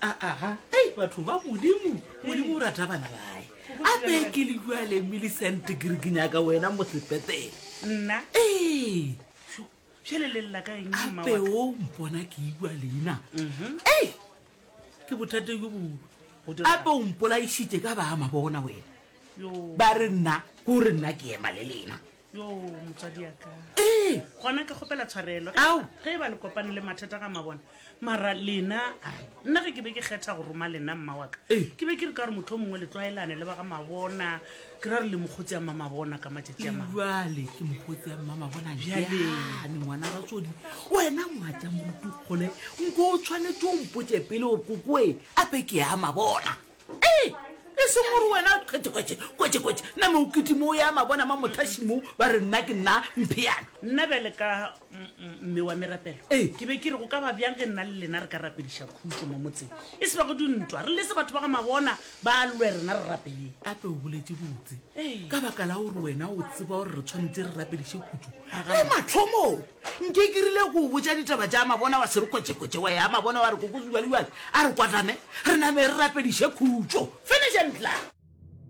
Aa, ei, batho ba Modimo, Modimo o rata bana bae. Ape ke le bjale Millicent ke re ke nyaka wena mo sepetele. Nna? Ee. Bjale le lla ka eng mma Ape wa ka? o mpona ke ikwa leina. Ei, ke bothata bjo bogolo. Go direga. Ape o mpolaišitše ka ba mabona wena. Yo. Ba re nna, ko re nna ke ema le lena. Yo, motswadi ya ka. Ee. Gona ke kgopela tshwarelo. Ao. Ge e ba le kopane le mathata ga mabona. Mara lena, ai, nna ge ke be ke kgetha go roma lena mma wa ka, Ee. ke be ke re ka gore motho o mongwe le tlwaelane le ba ga mabona, ke ra re le mokgotsi ya mmamabona ka matšatši a mangwe. Bjale ke mokgotsi ya mmamabona Bjale. bjane ngwana ratsodi wena ngwatša moruti kgole nko o tshwanetse o mpotše pele gore kokoe ape ke ya mabona. Ee, e seng gore wena kgwetše-kgwetše, kwetše-kwetše, name o kitime o ya mabona ma mothaši mo, ba re nna ke nna mpheana. Nna bjale ka mme wa merapelo, Ee. ke be ke re go ka ba bjang ge nna le lena re ka rapediša khutšo mo motseng, e se ba go dintwa, re lese batho ba ga mabona ba lwe, rena re rapeleng. Gape o boletše botse, Ee. ka baka la gore wena o tseba gore re tshwanetše re rapediše khutšo. Ge mathomong nke ke rile go o botša ditaba tša mabona wa se re kwetše-kwetše, wa ya mabona wa re koko jwale-jwale, a re kwatame, re name re rapediše khutšo. Finish and klaar!